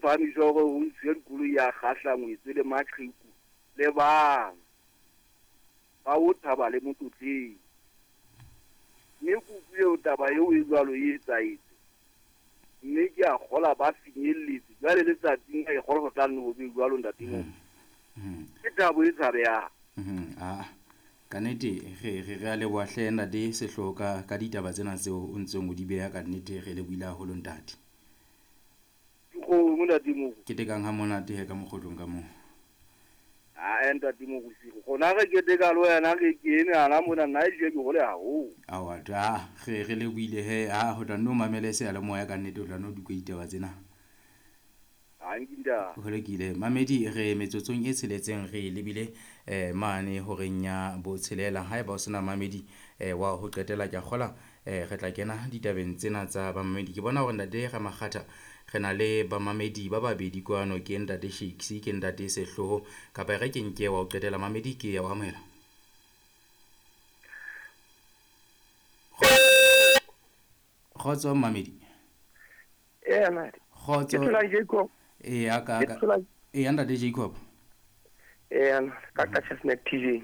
phahamiswa hore ho ntshuwe dikoloi ya kgahla ngwetse le maqheku le bana ba o thaba le motlotleng. Mme ke utlwile taba eo e jwalo e etsahetse. Mme ke a kgola ba finyelletse. Jwale letsatsing ke kgola ho tla nne ho be jwalo ntate moo. Ke thabo e tshabehang. Ka nnete re a leboha hle ntate Sehloho ka ditaba tsena tseo o ntseng o di beha, ka nnete re lebohile haholo ntate. Dikgomo ntate Moruti. Ketekang ha monate he ka mokgotlong ka moo. Ae ntate Moruti, rona re keteka le wena re kene hana mona nna ehlile ke hole haholo. Aowa re lebohile he, ho tla nno mamele seyalemoya ka nnete, o tla nno di utlwe ditaba tsena. Ho lokile mamedi, re metsotsong e tsheletseng re lebile mane horeng ya botshelela. Haeba o sena mamedi wa ho qetela, ke a kgola re tla kena ditabeng tsena tsa bamamedi. Ke bona hore ntate Ramakgatha re na le bamamedi ba babedi kwano, ke ntate Shakes, ke ntate Sehloho. Kapa e re ke nke wa ho qetela mamedi, ke ya o amohela. Kgotso mamedi. Kgotso. Eya ka eya ntate Jacob. Eya ka Chestnut TJ.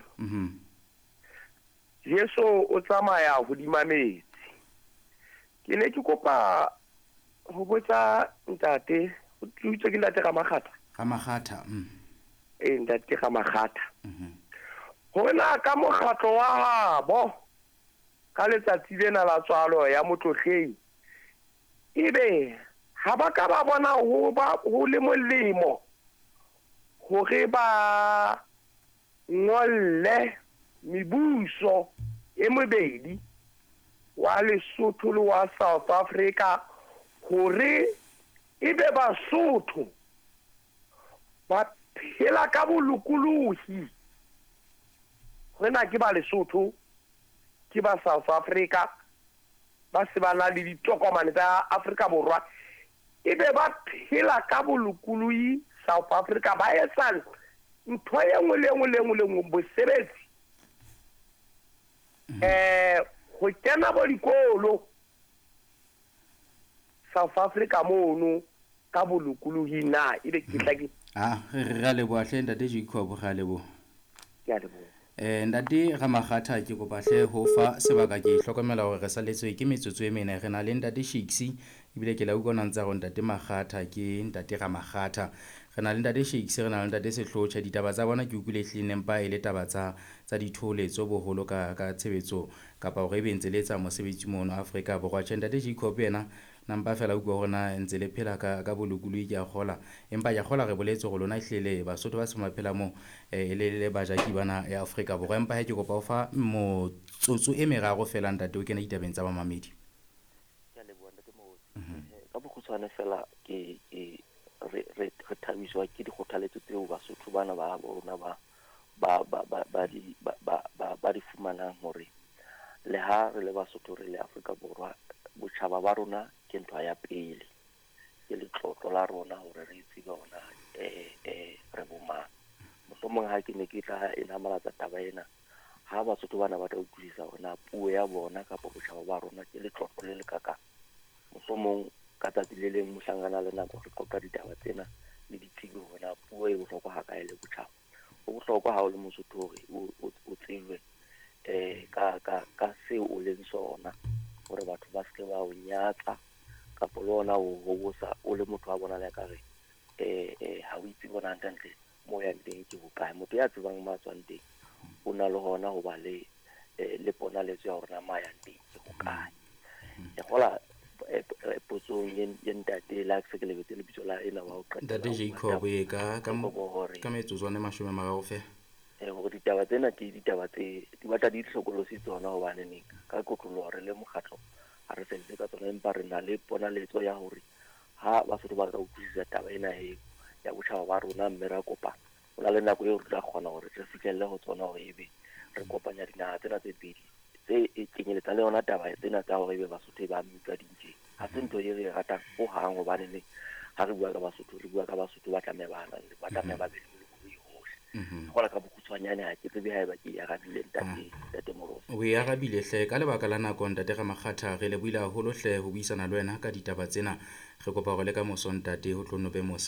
Jesu o tsamaya hodima metsi. Ke ne ke kopa ho botsa ntate, o tlutse ke ntate Ramakgatha. Ramakgatha. Eh ntate Ramakgatha. Hore na ka mokgatlo wa habo ka letsatsi lena la tswalo ya motlotleng ebe ha ba ka ba bona ho ba ho le molemo hore ba ngolle mebuso e mebedi wa Lesotho le wa South Africa hore ebe Basotho ba phela ka bolokolohi. Hore na ke ba Lesotho ke ba South Africa ba se ba na le ditokomane tsa Afrika Borwa ebe ba phela ka bolokolohi South Africa, ba etsa ntho e nngwe le nngwe le nngwe le nngwe, bosebetsi, ho kena bo dikolo South Africa mono ka bolokolohi na ebe ke tla ke re a leboha hle ntate Jacob, re a leboha. Ke a leboha. Ntate Ramakgatha, ke kopa hle ho fa sebaka, ke hlokomela hore re saletswe ke metsotso e mene. Re na le ntate Shakes, ebile ke la utlwa ona ntse a re ntate Makgatha ke ntate Ramakgatha. Re na le ntate Shakes, re na le ntate Sehloho. Tjhe, ditaba tsa bona ke utlwile ehlile nempa e le taba tsa ditholetso boholo ka tshebetso kapa hore ebe ntse le etsa mosebetsi mono Afrika Borwa. Tjhe, ntate Jacob yena nampa fela utlwa hore na ntse le phela ka bolokolohi, ke a kgola. Empa ke a kgola re boletse hore lona ehlile Basotho ba se ba phela moo le bajaki bana ya Afrika Borwa. Empa he ke kopa ho fa motsotso e meraro fela ntate o kene ditabeng tsa bamamedi. Ke a leboha ntate Moruti. Ka bokgutshwane fela ke re thabiswa ke dikgothaletso tseo Basotho bana ba rona ba di fumanang hore le ha re le Basotho re le Afrika Borwa, botjhaba ba rona ke ntho ya pele, ke letlotlo la rona hore re tsebe hona re bomang. Mohlomong ha ke ne ke tla e namalatsa taba ena, ha Basotho bana ba tla utlwisisa hore na puo ya bona kapa botjhaba ba rona ke letlotlo le lekakang. Mohlomong ka tsatsi le leng mohlangana le nako re qoqa ditaba tsena le ditsebi hore na puo e bohlokwa hakae le botjhaba. Ho bohlokwa ha o le Mosotho hore o tsebe ka seo o leng sona, hore batho ba seke ba o nyatsa kapa le ona o hobosa o le motho wa bona le ka re ha o itse bona hantle mo yang teng ke hokae. Motho ya tsebang mo a tswang teng o na le hona ho ba le ponaletso ya hore na mo a yang teng ke hokae. Ke kgola potsong ye ntate la se ke lebetse lebitso la ena wa ho qetela. Ntate Jacob ka metsotswana e 30 fela. Hore ditaba tsena ke ditaba tse di batla di hlokolosi tsona, hobane neng ka kotloloho re le mokgatlo ha re sebetse ka tsona, empa re na le ponaletso ya hore ha Basotho ba ka utlwisisa taba ena e ya botjhaba ba rona mme ra kopana, ho na le nako eo re tla kgona hore re fihlelle ho tsona hore ebe re kopanya dinaha tsena tse pedi tse e kenyeletsa le yona taba tsena tsa hore ebe Basotho ba mmitsa dintjeng. Ha se ntho e re e ratang hohang, hobane neng ha re bua ka Basotho re bua ka Basotho ba tlameha ba ba tlameha ba be le bolokolohi hohle. Kgola ka bokgutshwanyane ha ke tsebe haeba ke e arabile ntate Moruti. O e arabile hle ka lebaka la nako ntate Ramakgatha, re lebohile haholo hle ho buisana le wena ka ditaba tsena. Re kopa hore le ka moso ntate ho tlo no be mosa.